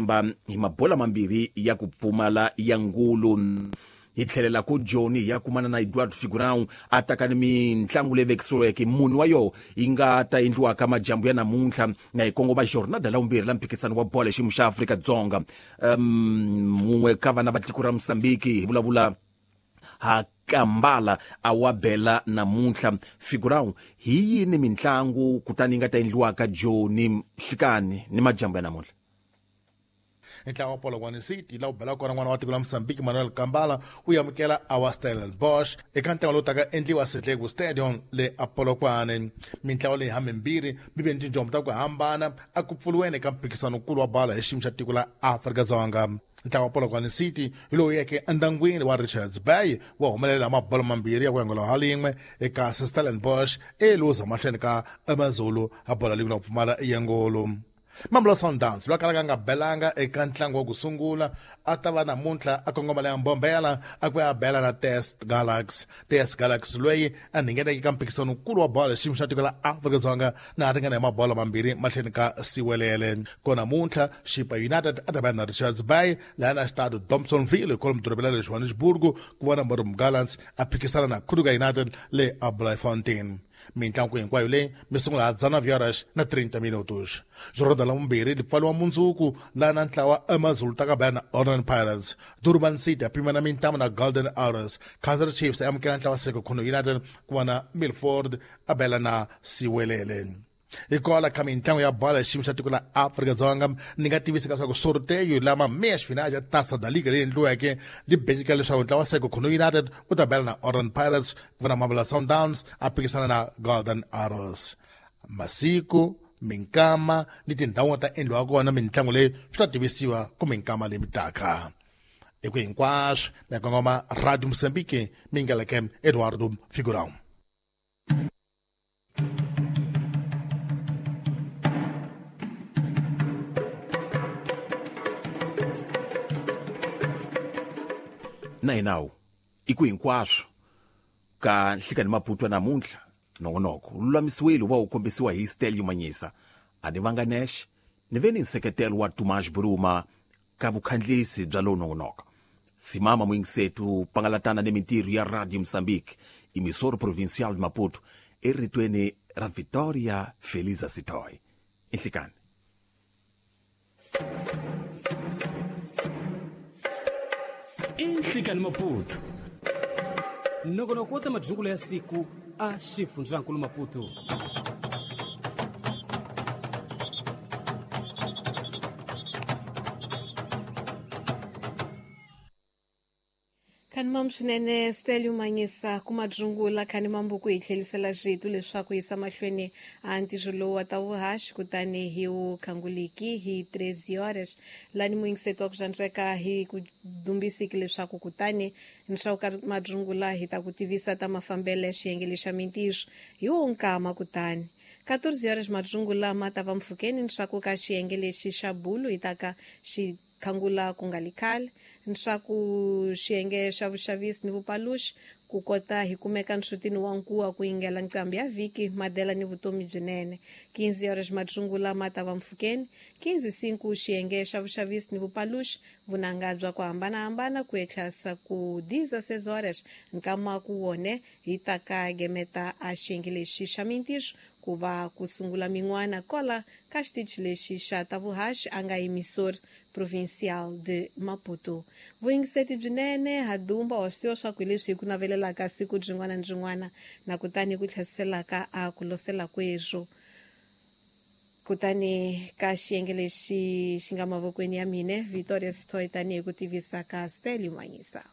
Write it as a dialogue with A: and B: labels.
A: Mba hi mabola mambirhi ya ku pfumala ya ngulu. Hi tlhelela ku Joni hi ya kumana na Eduardo Figurão a taka ni mintlangu leyi vekisiweke muni wa yoho yi nga ta endliwaka majambu ya namuntlha na hi kongoma jornada la vumbirhi la mphikisano wa bolo xiyimo xa Afrika-Dzonga. Mun'we ka vana va tiko ra Mozambique hi vulavula ha Kambala a wa bela namuntlha. Figurão hi yini mintlangu kutani yi nga ta endliwaka Joni nhlikani ni majambu ya namuntlha?
B: Ntlawa wa Polokwane City laha wu belaka kona n'wana wa tiko la Mozambique Manuel Kambala wu amukela Our Stellenbosch eka ntlangu lowu taka endliwa Sethleku Stadium le a Polokwane. Mintlawa leyi hamimbirhi mi ve ni tinjombo ta ku hambana a ku pfuriweni eka mphikizano-nkulu wa bolo hi xiyimo xa tiko la Afrika-Dzonga. Ntlawa wa Polokwane City hi lowu yeke endyangwini wa Richards Bay wa humelela mabolo mambirhi ya ku yangola ha lin'we eka Stellenbosch e luza mahlweni ka Amazulu ha bola lin'we la ku pfumala yangolo. Mamelodi Sundowns loyi a kalaka a nga belanga eka ntlangu wa ku sungula a ta va namuntlha a kongoma leya Mbombela a ku ya bela na TS Galaxy. TS Galaxy loyi a ngheneke eka mphikizano nkulu wa bolo xiyimo xa tiko la Afrika-Dzonga na a ringana hi mabolo mambirhi mahlweni ka Siwelele. Ko namuntlha Chippa United a ta va na Richards Bay laha na xitado Dobsonville kwalomu dorobeni ra le Johannesburg ku vona Marumo Gallants a phikisana na Kruger United le a Bloemfontein. Mintlangu hinkwayo leyi mi sungula ha dzana horas na 30 minutos. Jornada la vumbirhi li pfaliwa mundzuku laha na ntlawa Amazulu ta ka baya na Orlando Pirates. Durban City ya pimana mintamu na Golden Arrows. Kaizer Chiefs ya amukela ntlawa Sekhukhune United ku va na Milford a bela na Siwelele. Hikwalaho ka mintlangu ya bolo ya xiyimo xa tiko la Afrika-Dzonga ni nga tivisa leswaku sorteio lama meias finais ya Taça da Liga leyi endliweke li benyika leswaku ntlawa Sekhukhune United u ta bela na Orlando Pirates ku va na Mamelodi Sundowns a phikisana na Golden Arrows. Masiku, minkama ni tindhawu ta endliwa kona mintlangu leyi swi ta tivisiwa ku minkama leyi mitaka. Hi ku hinkwaswo mi kongoma Radio Mozambique mi ngeleke Eduardo Figurão.
A: Na hi nawu i ku hinkwaswo ka nhlikani Maputo namuntlha nongonoko wu lulamisiwile wu va wu kombisiwa hi Stelio Manyisa a ni vanga nexe ni ve ni nseketelo wa Tomas Buruma ka vukhandlisi bya lowu nongonoko. Simama muyingisetu pangalatana ni mintirho ya Radio Mozambique emissora provincial de Maputo eritweni ra Victoria Feliza Sitoy. Inhlikani.
C: Inhlikani Maputo. Nongonoko wa ta madyungulo ya siku a xifundzankulu Maputo.
D: Khani mam swinene Stelio Manyisa ku madzungula khani mambuku hi tlhelisela rito leswaku yisa mahlweni a ntirho lowu wa ta vuhaxi kutani hi wu khanguliki hi 13 horas lani muyingiseti wa ku xandzeka hi ku dumbisiki leswaku kutani nxawu ka madzungula hi ta ku tivisa ta mafambelo ya xiyenge lexa mintirho hi wo nkama kutani 14 horas madzungula ma ta va mpfhukeni nxaku ka xiyenge lexi xa bulu hi ta ka xi khangula ku nga li khale nxaku xiyenge xa vuxavisi ni vupaluxi ku kota hi kumeka nxutini wa nkuwa ku yingela nqambi ya vhiki madela ni vutomi byinene 15 horas madzungula ma ta va mpfhukeni 15 xiyenge xa vuxavisi ni vupaluxi vunanga bya ku hambanahambana ku etlhasa ku 16 horas nkama ku wone hi ta ka gemeta a xiyenge lexi xa mintirho ku va ku sungula min'wana kola ka xitichi lexi xa ta vuhaxi a nga emissora provincial de Maputo. Vuyingiseti byinene ha dumba wa swi tiva swa ku hi leswi hi ku navelelaka siku byin'wana ni byin'wana na kutani ku tlhasiselaka a ku losela kwezwo. Kutani ka xiyenge lexi xi nga mavokweni ya mine Victoria Sitoy tanihi ku tivisa ka Stelio Manyisa.